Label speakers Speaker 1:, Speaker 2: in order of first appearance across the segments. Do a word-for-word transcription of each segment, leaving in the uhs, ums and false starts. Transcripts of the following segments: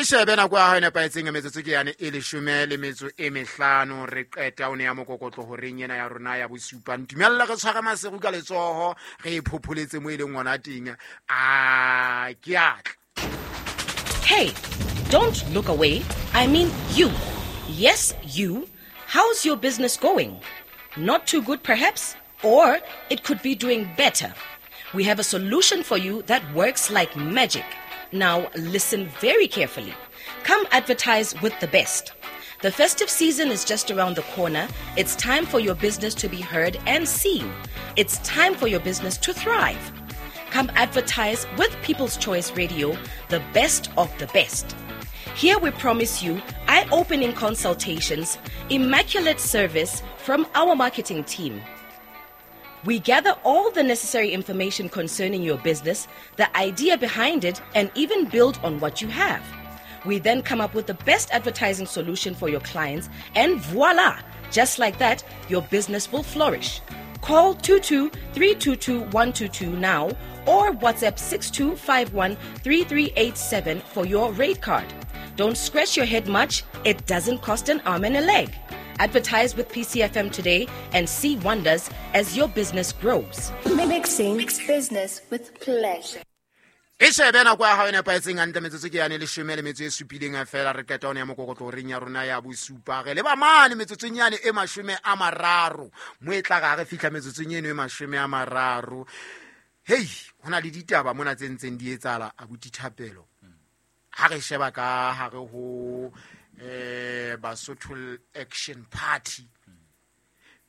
Speaker 1: E shebe nako ya hao e nepahetseng metsotso ke yane e leshome le metso e mehlano re qeta o ne ya mokokotlo horeng ena ya rona ya bosupa. Ntumella re tshware Maseru ka letsoho re e phopholetse mo e leng ngwana teng. A ke atla.
Speaker 2: Hey, don't look away. I mean you. Yes, you. How's your business going? Not too good perhaps? Or it could be doing better. We have a solution for you that works like magic. Now listen very carefully. Come advertise with the best. The festive season is just around the corner. It's time for your business to be heard and seen. It's time for your business to thrive. Come advertise with People's Choice Radio, the best of the best. Here we promise you eye-opening consultations, immaculate service from our marketing team. We gather all the necessary information concerning your business, the idea behind it, and even build on what you have. We then come up with the best advertising solution for your clients, and voila! Just like that, your business will flourish. Call two two three two two one two two now or WhatsApp six two five one three three eight seven for your rate card. Don't scratch your head much. It doesn't cost an arm and a leg. Advertise with P C F M today and see wonders as your business grows.
Speaker 3: Mixing business with pleasure.
Speaker 1: E shebe nako ya hao e nepahetseng hantle metsotso ke yane leshome le metso e supileng feela re qeta hona ya mokokotlo horeng ya rona ya bosupa. Re leba mane metsotsong yane e mashome a mararo. Mo e tla re fihla metsotsong eno e mashome a mararo. Hei, hona le ditaba mona tse ntseng di etsahala abuti Thapelo. Ha re sheba ka hare ho eh Basotho Action Party.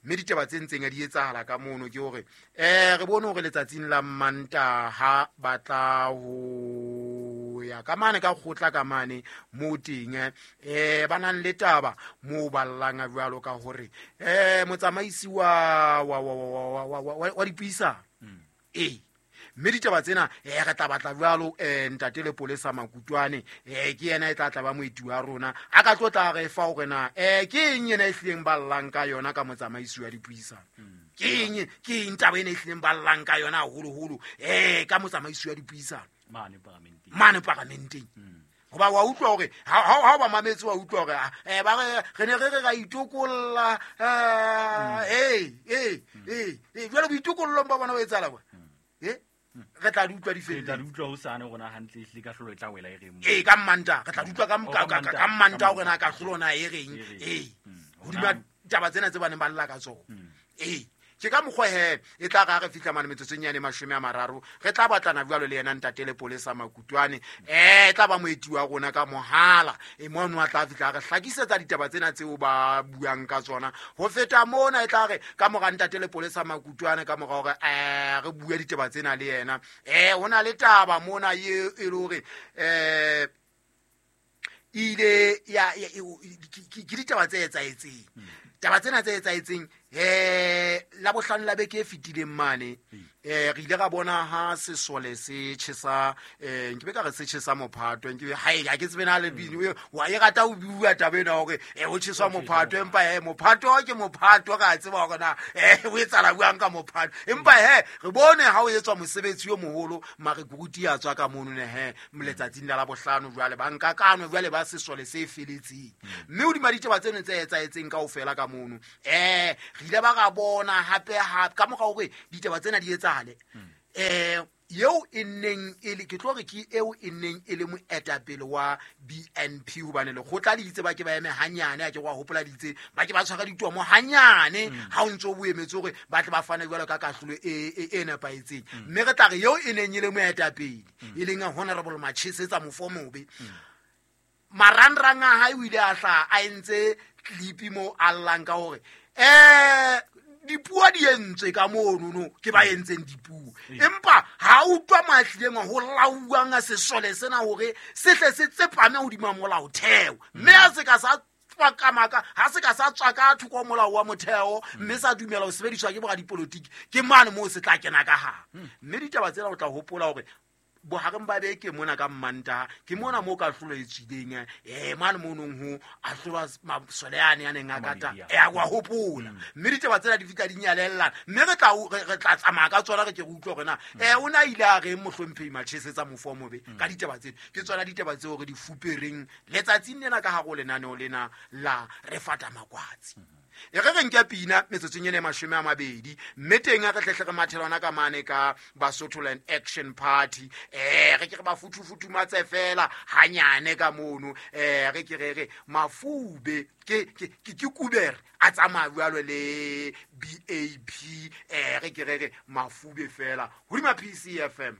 Speaker 1: Mme ditaba tse ntseng di etsahala ka mono ke hore eh re bone hore letsatsing la Mantaha ba tla ho ya ka mane ka kgotla ka mane mo teng eh ba nang le taba mo ballang a jwalo ka hore eh motsamaisi wa wa wa wa wa wa dipuisano eh mme ditaba tsena eh re tla batla jwalo eh ntate le polesa Makutwane eh ke yena e tla tla ba moeti wa rona a ka tlo tla re fa hore na eh ke eng yena e hlileng ballang ka yona ka motsamaisi wa dipuisano ke eng ke eng taba ena e hlileng ballang ka yona haholoholo eh ka motsamaisi wa dipuisano
Speaker 4: mane paramenteng
Speaker 1: mane paramenteng hoba wa utlwa hore ha ha ba mametse wa utlwa hore eh ba re re ne re re ra itokolla eh eh eh eh jwalo boitokollong ba bona ba etsahala kwa eh re tla di utlwa di felletse.
Speaker 4: Re tla di utlwa ho sane rona hantle ehlile ka hlolo e tla wela e reng.
Speaker 1: Eh ka Manta re tla di utlwa ka ka ka Manta hore na ka hlolo na e reng. Eh hodima taba tsena tse baneng ba lla ka tsona. Eh ke ka mokgwa he e tla ra re fihla mane metsotsong yane mashome a mararo re tla batlana jwalo le yena ntate le polesa Makutwane eh tla ba moeti wa rona ka mohala e mono a tla fihla re hlakisetsa ditaba tsena tseo ba buang ka tsona ho feta mona e tla re ka mora ntate le polesa Makutwane ka mora hore eh re bue ditaba tsena le yena eh hona le taba mona e e le hore eh ile ya ke ditaba tse etsahetseng taba tsena tse etsahetseng eh la bohlano la beke e fetileng mane eh re ile ra bona ha sesole se tjhesa eh nke be ka re se tjhesa mophato nke ha e ke tsebe na le bini wa e rata o bua taba ena hore eh o tjheswa mophato empa eh mophato ke mophato ka tseba hore na eh o etsala buang ka mophato empa he re bone ha o etswa mosebetsi o moholo mare kuruti ya tswa ka mono ne he moletsatsing la bohlano jwale ba nka kano jwale ba sesole se feletseng mme o di maditaba tseno tse etsaetseng kaofela ka mono eh re ile ba ga bona hape ha ka mora hore ditaba tsena di etsahale eh eo e neng e le ke tlo re ke eo e neng e le moetapele wa B N P hobane lekgotla le itse ba ke ba eme hanyane a ke wa hopola ditse ba ke ba tshwara ditomo hanyane ha o ntso o boemetse hore ba tle ba fane jwalo ka kahlolo e e nepahetseng mme re tla re eo e neng e le moetapele e leng Honorable Machesetsa Mofomobe marangrang a hae o ile a hla a entse clip mo a llang ka hore eh dipuo di entswe ka mono no ke ba entseng dipuo empa ha utlwa mahlileng ho lauwang a sesole sena hore se hle se tsepame hodima molaotheo mme a se ka sa tswa ka maka ha se ka sa tswa ka thoko molao wa motheo mme sa dumela ho sebediswa ke boradipolotiki ke mane moo se tla kena ka ha mme ditaba tsena o tla hopola hore bohareng ba beke mona ka Mmantaha ke mona mo ka hlolo e tswileng eh mane monong ho ahlolwa masole ane a neng a kata
Speaker 4: Mabedi
Speaker 1: e a wa hopola mme ditaba tsena di fihla di nyalellana mme re tla re tla tsamaya ka tsona re ke re utlwe hore na eh o na ile a reng mohlomphehi Machesetsa mofo o mobe ka ditaba tsena. Ke tsona ditaba tseo re di fupereng letsatsing lena ka hare ho lenaneo lena la re fata makwatsi. E re re nke pina metsotsong ena e mashome a mabedi mme teng ha re hlehle re mathela hona ka mane ka Basotholand Action Party eh re ke re ba futhufutumatse fela hanyane ka mono eh re ke re re mafube ke ke ke ke kubere a tsamaya jwalo le B A P eh re ke re re mafube fela hodima P C F M.